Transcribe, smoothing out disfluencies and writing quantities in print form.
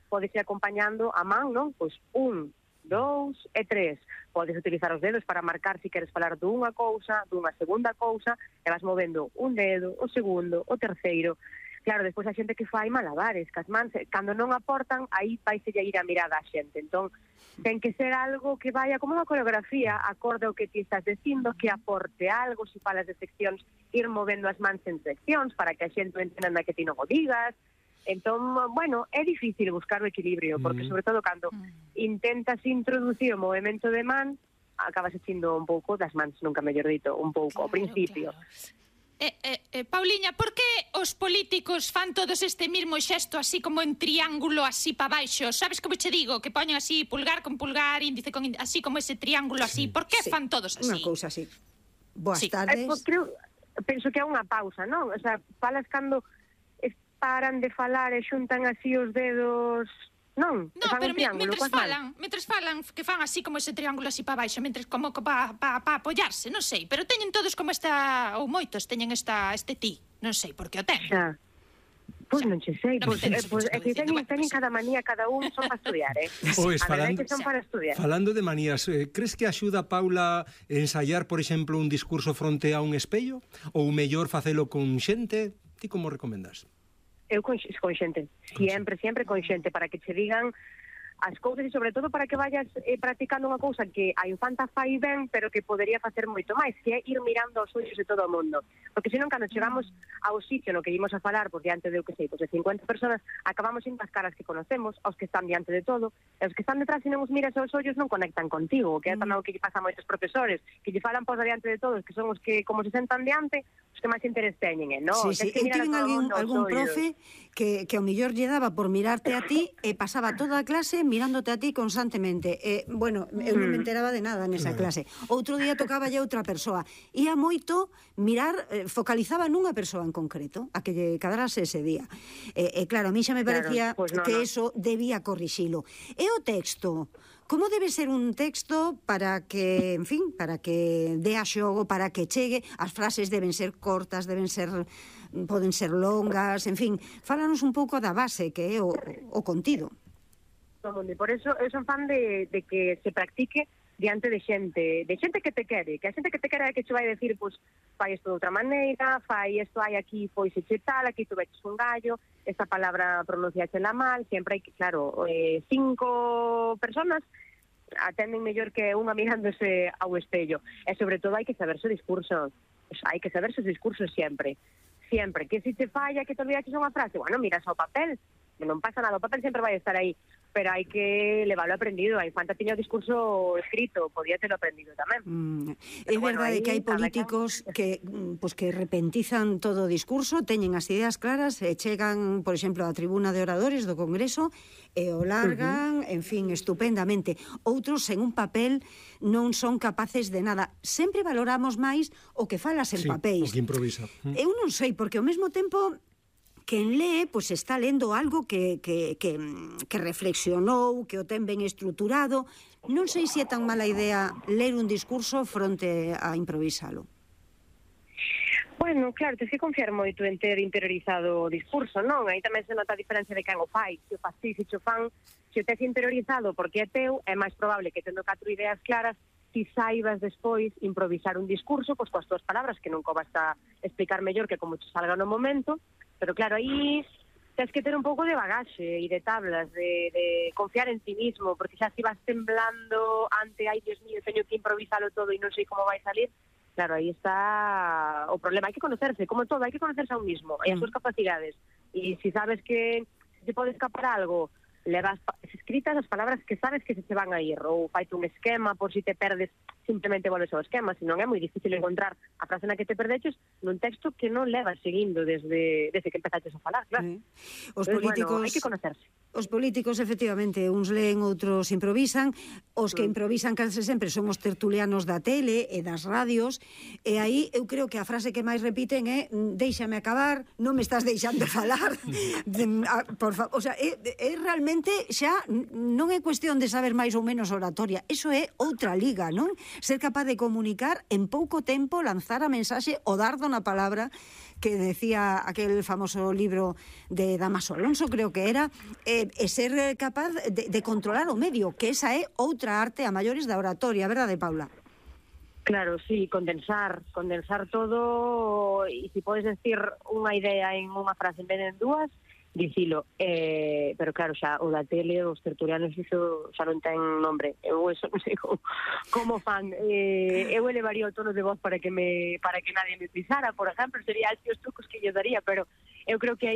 podes ir acompañando a man, non? Pois 1, 2 e 3. Podes utilizar os dedos para marcar se queres falar dunha cousa, dunha segunda cousa, e vas movendo un dedo, o segundo, o terceiro. Claro, despois a xente que fai malabares, que as mans, cando non aportan, aí vaise ir a mirada a xente. Entón, ten que ser algo que vaya como unha coreografía, acorde ao que ti estás dicindo, que aporte algo, se falas de seccións, ir movendo as mans en seccións, para que a xente entenda que ti non o digas. Entón, bueno, é difícil buscar o equilibrio, porque sobre todo cando intentas introducir o movimento de man, acabas echando un pouco das mans, nunca mellor dito, un pouco, ao principio. Pauliña, por que os políticos fan todos este mismo xesto así como en triángulo así pa baixo? Sabes como che digo? Que poñen así pulgar con pulgar, índice con índice, así como ese triángulo así. Por que fan todos así? Unha cousa así. Boas tardes. Penso que é unha pausa, non? O sea, falas cando paran de falar e xuntan así os dedos... Non, pero mentres falan que fan así como ese triángulo así para baixo, mentres como para apoiarse, non sei, pero teñen todos como esta, ou moitos teñen este ti, non sei por que o ten. Xa. Pois non che sei, é que teñen cada manía, cada un son para estudiar, Pois, a verdade é que son para estudiar. Falando de manías, crees que axuda Paula ensayar, por exemplo, un discurso fronte a un espello? Ou mellor facelo con xente? Ti como recomendas? Eu con xente, sempre con xente, para que che digan as cousas e sobre todo para que vayas practicando unha cousa que a infanta fai ben, pero que podería facer moito máis, que é ir mirando aos ollos de todo o mundo. Porque senón, cando chegamos ao sitio no que ímos a falar, por diante de, de 50 personas, acabamos indo as caras que conocemos, aos que están diante de todo, e os que están detrás, se non os miras aos ollos, non conectan contigo, que é tamén o que lle pasa a moitos profesores, que lle falan por diante de todos, que son os que, como se sentan diante, os que máis interés teñen, non? Sí. Eu tiven algún profe que ao millor lle daba por mirarte a ti e pasaba toda a clase mirándote a ti constantemente. Bueno, eu non me enteraba de nada nesa clase. Outro día tocaba ya outra persoa. Ia moito mirar, focalizaba nunha persoa en concreto, a que lle cadrase ese día. Claro, a mí xa me parecía que eso debía corrixilo. E o texto? Como debe ser un texto para que, en fin, para que dé a xogo, para que chegue? As frases deben ser cortas, poden ser longas, en fin, fálanos un pouco da base que é o contido. Por eso eu son fan de que se practique diante de xente que te quere, que a xente que te quere é que che vai decir, pois, fai isto de outra maneira, fai isto, hai aquí, pois, e che tal, aquí tu veches un gallo, esta palabra pronunciáchela mal, sempre hai que, claro, 5 personas atenden mellor que unha mirándose ao espello, e sobre todo hai que saberse o discurso, hai que saberse os discursos sempre, que se te falla, que te olvidaches unha frase, bueno, miras ao papel, non pasa nada, o papel sempre vai estar aí, pero hai que leválo aprendido. A infanta tiña o discurso escrito, podía terlo aprendido tamén. É verdade que hai políticos que repentizan todo o discurso, teñen as ideas claras e chegan, por exemplo, á tribuna de oradores do Congreso e o largan, en fin, estupendamente. Outros, en un papel, non son capaces de nada. Sempre valoramos máis o que falas en papéis. O que improvisa. Eu non sei, porque ao mesmo tempo quen lee, pois está lendo algo que reflexionou, que o ten ben estruturado. Non sei se é tan mala idea ler un discurso fronte a improvisalo. Bueno, claro, tens que confiar moito en ter interiorizado o discurso, non? Aí tamén se nota a diferencia de quen o fai. Se o faz ti, se o fan, se o tes interiorizado porque é teu, é máis probable que tendo 4 ideas claras ti saibas despois improvisar un discurso pois coas túas palabras, que non vas a explicar mellor que como te salga no momento. Pero claro, aí tens que ter un pouco de bagaxe e de tablas, de confiar en ti mismo, porque xa si vas temblando ante, ai, Dios mío, teño que improvisalo todo e non sei como vai salir, claro, aí está o problema. Hai que conocerse, como todo, hai que conocerse a un mismo, e as súas capacidades. E se sabes que se pode escapar algo, levas escritas as palabras que sabes que se te van a ir, ou faite un esquema por si te perdes, simplemente volves ao esquema, senón é moi difícil encontrar a frase na que te perdeches nun texto que non levas seguindo desde que empezaches a falar, claro. Os políticos, bueno, hai que conocerse. Os políticos, efectivamente, uns leen, outros improvisan. Os que improvisan case sempre son os tertulianos da tele e das radios, e aí eu creo que a frase que máis repiten é déixame acabar, non me estás deixando falar. Por favor, o sea, é realmente xa non é cuestión de saber máis ou menos oratoria, eso é outra liga, non? Ser capaz de comunicar en pouco tempo, lanzar a mensaxe, o dardo na palabra, que decía aquel famoso libro de Damaso Alonso, creo que era, ser capaz de controlar o medio, que esa é outra arte a maiores da oratoria, verdade, Paula? Claro, sí, condensar todo, e se podes decir unha idea en unha frase en vez de en dúas, dicilo, pero claro, xa o da tele, os tertulianos, iso xa non ten nombre, eu eso non sei como fan, eu elevaría o tono de voz para que nadie me pisara, por exemplo, sería así os trucos que yo daría, pero eu creo que aí